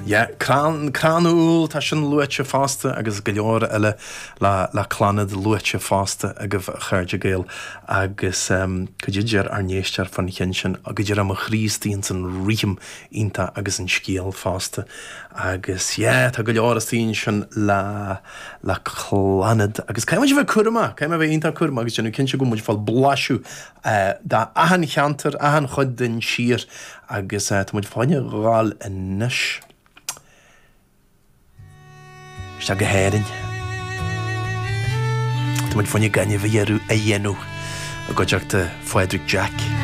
Yeah, Crann, Crann Úll, tá sin luaite fosta agus go leor eile le, le Clannad luaite fosta agaibh a chairde Gael agus cad é deir ár n-éisteoir fán cheann sin, go deir mo chroí istigh ins an rithim iontach agus an scéal fosta agus yeah, tá go leor istigh ansin le, le Clannad agus caithfidh muid a bheith cúramach, caithfidh muid a bheith iontach cúramach agus déanamh cinnte go bhfuil muid ag fáil blaiseadh d'achan cheantar, achan chuid den tír agus tá muid fá choinne dhul anois isteach go hÉirinn. Tá muid fá choinne gaineamh a dhéanamh i gcuideachta Phádraig Jack.